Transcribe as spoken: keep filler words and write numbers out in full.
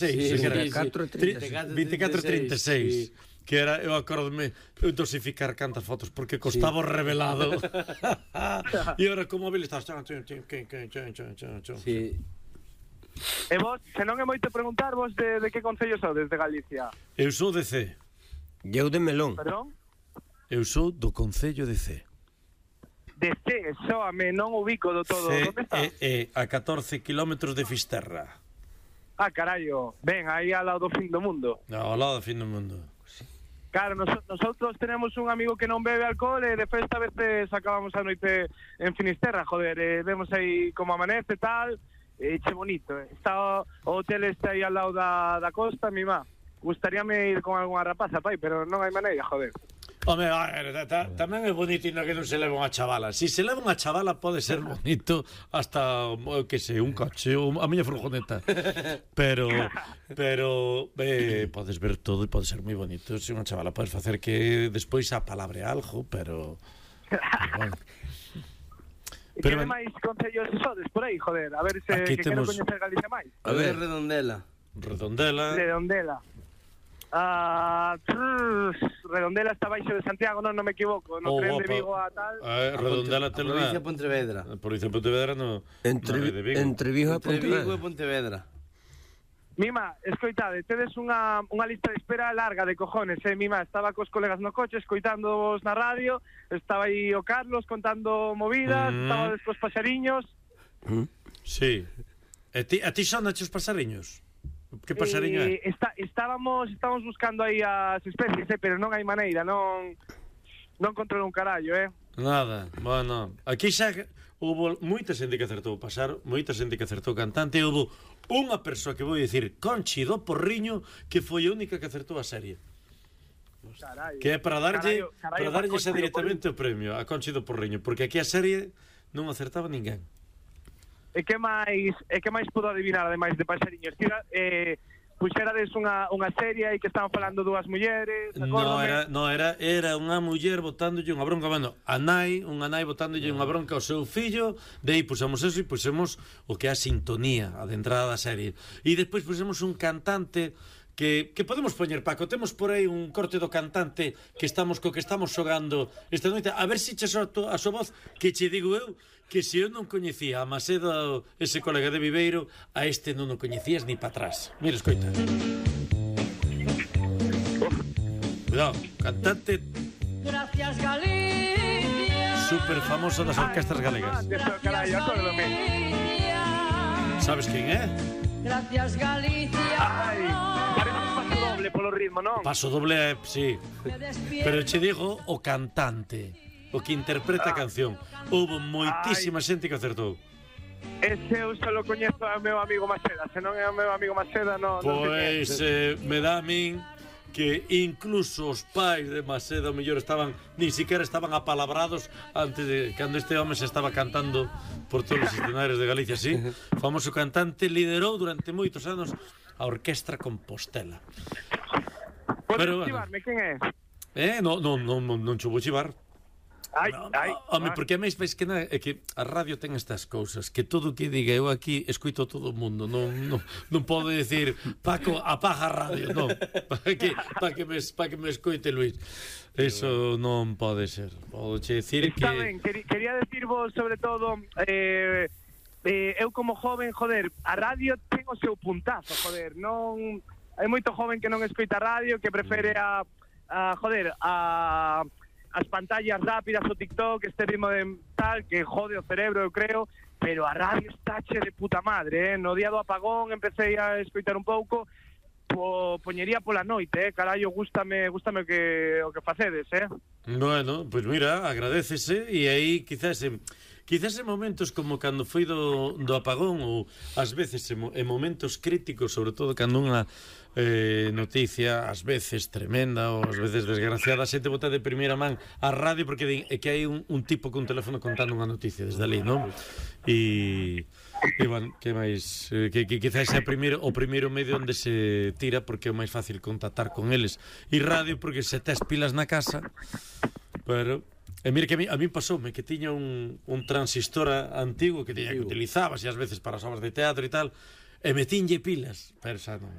Sí, sí, era sí, catro trinta e seis. vinte e catro trinta e seis. Que era, eu acordome eu dosificar cantas fotos porque costaba o revelado. E ahora como móvil estás Sí. E vos, se non é moito preguntar vos de, de que concello sodes de Galicia? Eu sou de C. E eu de Melón. Perdón? Eu sou do concello de C. De C, soame, non ubico do todo. C Onde está? é, é a catorce kilómetros de Fisterra. Ah, carallo, ven, aí ao lado do fin do mundo. Ao lado do fin do mundo. Claro, nos, nosotros tenemos un amigo que non bebe alcohol e de festa a veces acabamos a noite en Finisterra, joder, e vemos aí como amanece e tal, e che bonito, eh. Está o, o hotel este aí ao lado da, da costa, mi má. Gustaríame ir con algunha rapaza, pai, pero non hai maneira, joder. Home, a ver, ta, tamén é bonito e non que non se leva unha chavala. Si se leva unha chavala pode ser bonito hasta, que sei, un coche ou a miña furgoneta. Pero, pero eh, podes ver todo e pode ser moi bonito. Se unha chavala podes facer que despois apalabre algo, pero... Bueno. E que máis concellos sodes por aí, joder? A ver se aquí que temos... quero coñecer Galicia máis. A ver, Redondela. Redondela. Redondela. Ah, trrr, Redondela está baixo de Santiago, non, non me equivoco, no Oh, tren guapa. de Vigo a tal. Eh, Redondela te A provincia de Pontevedra. A provincia de Pontevedra no... Entre, no é de Vigo. entre Vigo e Entre Vigo Pontevedra. e Pontevedra. Mima, escoitade, tedes unha, unha lista de espera larga de cojones, eh, Mima, estaba cos colegas no coche, escoitándoos na radio, estaba aí o Carlos contando movidas, Mm. estaba cos paxariños. Mm. Sí. E ti, a ti son os pasariños? Que pasariño é? Eh, está, estábamos, estábamos buscando aí as especies, eh, pero non hai maneira, non non controlo un carallo, eh. Nada, bueno, aquí xa houve moita xente que acertou o pasar, moita xente que acertou o cantante, e houve unha persoa que vou dicir, Conchi do Porriño, que foi a única que acertou a serie. Carallo. Que é para darlle, Carallo, carallo, para darlle Conchi xa do directamente o premio a Conchi do Porriño, porque aquí a serie non acertaba ninguén. E que máis, e que máis podo adivinar ademais de paxariños? Tira, eh, puxerades unha, unha serie aí que estaban falando dúas mulleres, No acórdome. era, no era, era unha muller botándolle unha bronca, bueno, a nai, unha nai botándolle unha bronca ao seu fillo, de aí pusemos eso e pusemos o que é a sintonía, a de entrada da serie. E despois pusemos un cantante que, que podemos poñer, Paco, temos por aí un corte do cantante que estamos co que estamos xogando esta noite, a ver se che soto a súa voz, que che digo eu que se eu non coñecía a Macedo, ese colega de Viveiro, a este non o coñecías ni para atrás. Mira, escoita. Cuidado, cantante Gracias Galicia. super famoso das orquestas galegas. Eso, carallo, acórdome. Sabes quen é? Gracias Galicia. Ai, parece un paso doble polo ritmo, non? Paso doble, sí. Me despierto. Pero che digo o cantante, o que interpreta a canción. Houve moitísima xente que acertou. Ese eu só lo coñezo ao meu amigo Maceda, se non é o meu amigo Maceda, non, non sei Pois eh, me dá a min que incluso os pais de Macedo mellor estaban, ni siquiera estaban apalabrados antes de cando este home se estaba cantando por todos os escenarios de Galicia, sí. Famoso cantante, liderou durante moitos anos a Orquestra Compostela. Podes Pero, bueno. chivarme, quen é? Eh, non, non, non, non, non cho vou chivar. Ai, No, ai. no, home, porque a máis veis que nada, é que a radio ten estas cousas, que todo o que diga eu aquí escoito todo o mundo, non non non podo decir, Paco, apaga a radio, non, para que para que me para que me escoite Luís. Eso non pode ser. Podo che decir que Está ben, quería, quería decirvos sobre todo eh, eh, eu como joven, joder, a radio ten o seu puntazo, joder, non hai moito joven que non escoita radio, que prefere a, a joder, a as pantallas rápidas, o TikTok, este ritmo de tal, que jode o cerebro, eu creo, pero a radio está che de puta madre, eh? No día do apagón empecé a escoitar un pouco, po, poñería pola noite, eh? Carallo, gústame, gústame o que, o que facedes, eh? bueno, pois pues mira, agradécese e aí quizás en, quizás en momentos como cando foi do, do apagón ou ás veces en, en momentos críticos, sobre todo cando unha eh, noticia ás veces tremenda ou ás veces desgraciada, a xente bota de primeira man a radio porque din, é que hai un, un tipo con teléfono contando unha noticia desde ali, non? E e bueno, que máis eh, que, que quizás é primeiro, o primeiro medio onde se tira porque é máis fácil contactar con eles, e radio porque se tes pilas na casa. Pero e mira que a mí, a mí pasoume que tiña un, un transistor antigo que tiña que utilizabas e ás veces para as obras de teatro e tal. E metinlle pilas, pero xa non.